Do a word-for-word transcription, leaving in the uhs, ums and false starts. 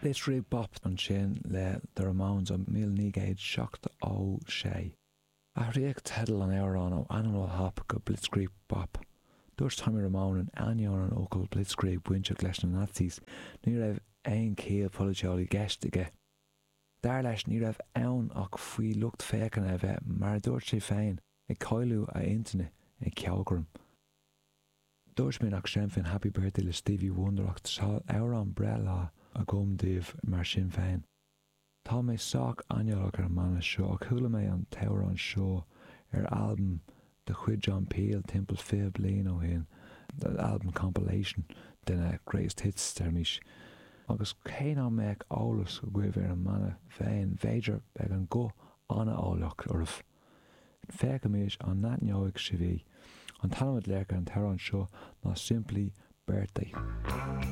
Blitzkrieg Bop ansin le The Ramones ó míle naoi gcéad seachtó sé. Athraíodh teideal an amhráin ó Animal Hop go Blitzkrieg Bop. Dúirt Tommy Ramone in ainneoin an fhocail Blitzkrieg bainteach leis na Nazis, ní raibh aon chiall pholaitiúil i gceist aige. Dar leis ní raibh ann ach faoi lucht féachana a bheith, mar a dúirt sé féin, ag cailleadh a intinne ag ceolchoirm. Dúirt mé nach seinnfinn Happy Birthday le Stevie Wonder ach tá amhrán breithlá agam daoibh mar sin féin. Tá mé sách aineolach ar an mbanna seo ach chuala mé an t-amhrán seo ar albam de chuid John Peel timpeall fiche bliain ó shin, album compilation de na greatest hits deirimís. Agus cé nach mbeadh eolas agaibh ar an mbanna féin, b'fhéidir beidh an guth an-eolach oraibh. Féachaimis an n-aithneoidh sibh í. An t-ainm a glaodh ar an t-amhrán seo ná simply Birthday.